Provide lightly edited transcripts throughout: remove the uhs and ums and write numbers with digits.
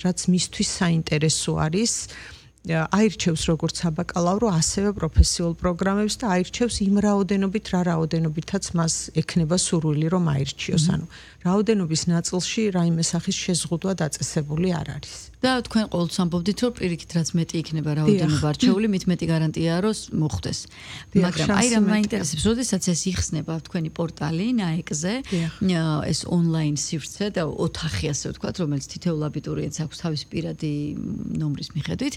რაც მისთვის საინტერესო არის აირჩევს როგორც საბაკალავრო, ასევე პროფესიულ პროგრამებს და აირჩევს იმ რაოდენობით, რა რაოდენობითაც მას ექნება სურვილი, რომ აირჩიოს. ანუ რაოდენობის ნაწილში რაიმე სახის შეზღუდვა დაწესებული არ არის. და თქვენ ყოველთვის ამბობდით, რომ პირიქით რაც მეტი იქნება რაოდენობა არჩეული, მით მეტი გარანტიაა, რომ მოხდეს. მაგრამ აი რა მაინტერესებს, როდესაც ეს იხსნება თქვენი პორტალი NAEC-ზე, ეს ონლაინ სივრცე და ოთახი ასე ვთქვათ, რომელიც თითოეულ აბიტურიენტს აქვს თავის პირადი ნომრის მიხედვით,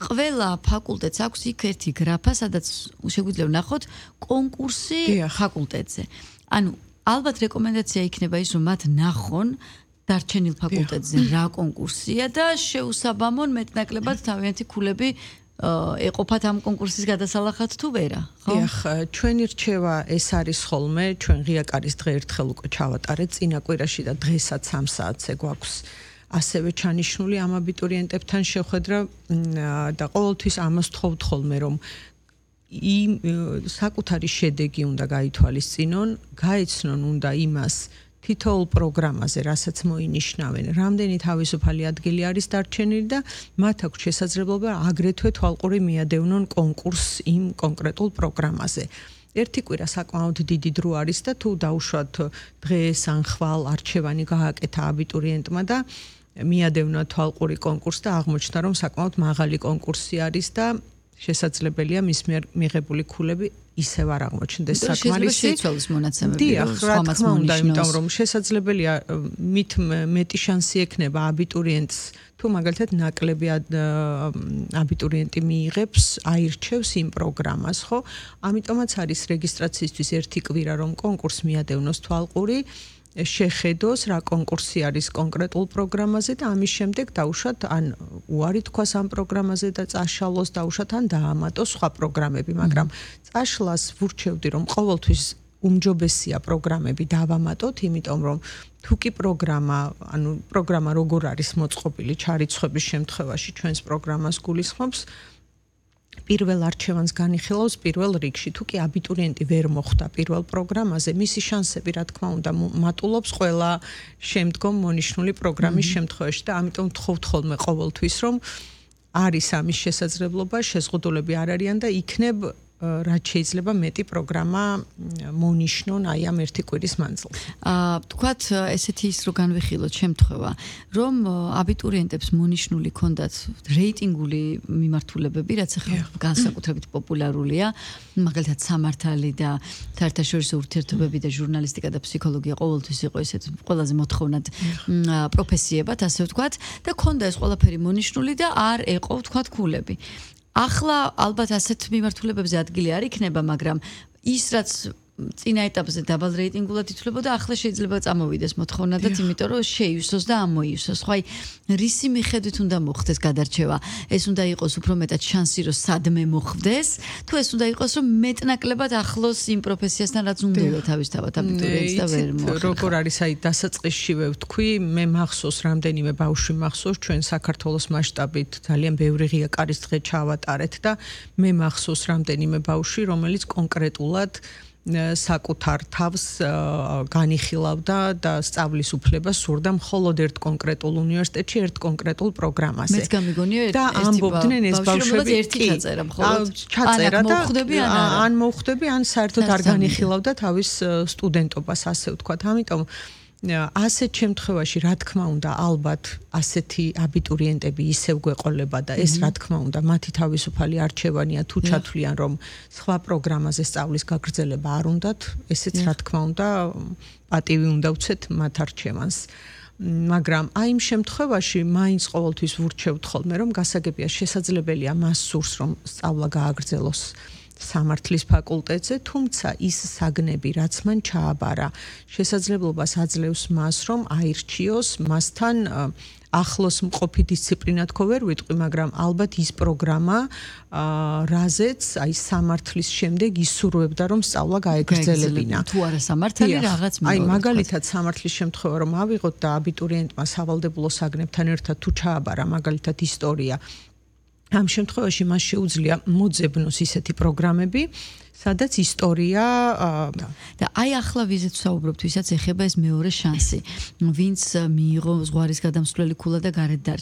ყველა ფაკულტეტს აქვს იქ ერთი გრაფა, სადაც შეგვიძლია ვნახოთ კონკურსი ფაკულტეტზე. ანუ ალბათ რეკომენდაცია იქნება ის, რომ მათ ნახონ დარჩენილ ფაკულტეტზე რა კონკურსია და შეუსაბამონ მეტნაკლებად თავიანთი ქულები ეყოფათ ამ კონკურსის გადასალახად თუ ვერა, ხო? დიახ, ჩვენი რჩევა ეს არის ხოლმე, ჩვენ ღიაკარის დღე ერთხელ უკვე ჩავატარეთ წინა კვირაში და დღესაც 3 საათზე გვაქვს ასევე ჩანიშნული ამ აბიტურიენტებთან შეხვედრა და ყოველთვის ამას ვთხოვთ ხოლმე, რომ საკუთარი შედეგი უნდა გაითვალისწინონ, გაეცნონ უნდა იმას თითოეულ პროგრამაზე, რასაც მოინიშნავენ, რამდენი თავისუფალი ადგილი არის დარჩენილი და მათ აქვს შესაძლებლობა აგრეთვე თვალყური მიადევნონ კონკურსს იმ კონკრეტულ პროგრამაზე. ერთი კვირა საკმაოდ დიდი დრო არის და თუ დაუშვათ დღეს ან ხვალ არჩევანი გააკეთა აბიტურიენტმა და მიადევნა თვალყური კონკურსს და აღმოჩნდა, რომ საკმაოდ მაღალი კონკურსი არის და შესაძლებელია მის მიერ მიღებული ქულები ისევ არ აღმოჩნდეს საკმარისი. შეიცვალოს მონაცემები. დიახ, რა თქმა უნდა, იმიტომ რომ შესაძლებელია მით მეტი შანსი ექნება აბიტურიენტს თუ მაგალითად ნაკლები აბიტურიენტი მიიღებს, აირჩევს იმ პროგრამას, ხო? ამიტომაც არის რეგისტრაციისთვის ერთი კვირა, რომ კონკურსს მიადევნოს თვალყური, შეხედოს რა კონკურსი არის კონკრეტულ პროგრამაზე და ამის შემდეგ დაუშვათ ან უარი თქვას ამ პროგრამაზე და წაშალოს დაუშვათ ან დაამატოს სხვა პროგრამები, მაგრამ წაშლას ვურჩევდი რომ ყოველთვის უმჯობესია პროგრამები დავამატოთ, იმიტომ რომ თუ კი პროგრამა როგორ არის მოწყობილი ჩარიცხვების შემთხვევაში ჩვენს პროგრამას გულისხმობს პირველ არჩევანს განიხილავს პირველ რიგში. თუ კი აბიტურიენტი ვერ მოხვდა პირველ პროგრამაზე, მისი შანსები, რა თქმა უნდა, მატულობს ყველა შემდგომ მონიშნული პროგრამის შემთხვევაში და ამიტომ ვთხოვთ ხოლმე ყოველთვის, რომ არის ამის შესაძლებლობა, შეზღუდულები არ არიან და იქნებ რაც შეიძლება მეტი პროგრამა მონიშნონ აი ამ ერთი კვირის მანძილზე. თქვათ ესეთი ის რომ განვიხილოთ შემთხვევა, რომ აბიტურიენტებს მონიშნული ქონდათ რეიტინგული მიმართულებები, რაც ახლა განსაკუთრებით პოპულარულია, მაგალითად სამართალი და საერთაშორისო ურთიერთობები და ჟურნალისტიკა და ფსიქოლოგია ყოველთვის იყო ესეთ ყველაზე მოთხოვნად პროფესიებად, ასე ვთქვათ, და ქონდა ეს ყველაფერი მონიშნული და არ ეყო ვთქვათ ქულები. ახლა ალბათ ასეთ მიმართულებებზე ადგილი არ იქნება, მაგრამ ის რაც წინა ეტაპზე დაბალ რეიტინგულად ითვლებოდა, ახლა შეიძლება წამოვიდეს მოთხოვნადაც, იმიტომ რომ შეივსოს და ამოივსოს. ხო, აი რისი მიხედვით უნდა მოხდეს გადარჩევა? ეს უნდა იყოს უფრო მეტად შანსი, რომ სადმე მოხდეს, თუ ეს უნდა იყოს, რომ მეტნაკლებად ახლოს იმ პროფესიასთან, რაც უნდა თავისთავად აბიტურიენტს და ვერ მოახერხა. როგორ არის აი დასაწყისშივე ვთქვი, მე მახსოვს რამდენიმე ბავშვი მახსოვს ჩვენ საქართველოს მასშტაბით ძალიან ბევრი ღიაკარის დღე ჩავატარეთ და მე მახსოვს რამდენიმე ბავშვი, რომელიც კონკრეტულად საკუთარ თავს განიხილავდა და სწავლის უფლებას სურდა მხოლოდ ერთ კონკრეტულ უნივერსიტეტში, ერთ კონკრეტულ პროგრამაზე. მეც გამიგონია და ამბობდნენ ეს ბავშვები ერთი ჩაწერა მხოლოდ. ჩაწერა და ან მოხვდები, ან საერთოდ არ განიხილავდა თავის სტუდენტობას, ასე ვთქვათ. ამიტომ ასეთ შემთხვევაში რა თქმა უნდა ალბათ ასეთი აბიტურიენტები ისევ გვეყოლება და ეს რა თქმა უნდა მათი თავისუფალი არჩევანია თუ ჩათვლიან რომ სხვა პროგრამაზე სწავლის გაგრძელება არ უნდათ, ესეც რა თქმა უნდა პატივი უნდა ვცეთ მათ არჩევანს. მაგრამ აი იმ შემთხვევაში მაინც ყოველთვის ვურჩევთ ხოლმე რომ გასაგებია შესაძლებელია მას სურს რომ სწავლა გააგრძელოს სამართლის ფაკულტეტზე, თუმცა ის საგნები, რაც მან ჩააბარა, შესაძლებლობას აძლევს მას, რომ აირჩიოს მასთან ახლოს მყოფი დისციპლინა თქო ვერ ვიტყვი, მაგრამ ალბათ ის პროგრამა, რაზეც აი სამართლის შემდეგ ისურვებდა, რომ სწავლა გაეგრძელებინა. თუ არა სამართალი რაღაც აი მაგალითად სამართლის შემთხვევა რომ ავიღოთ და აბიტურიენტმა სავალდებულო საგნებთან ერთად თუ ჩააბარა მაგალითად ისტორია, ამ შემთხვევაში მას შეუძლია მოძებნოს ისეთი პროგრამები, სადაც ისტორია და აი ახლა ვიზეთ ვსაუბრობთ, ვისაც ეხება ეს მეორე შანსი, ვინც მიიღო ზღვარის გადამსვლელი ქულა და გარეთ დარჩა.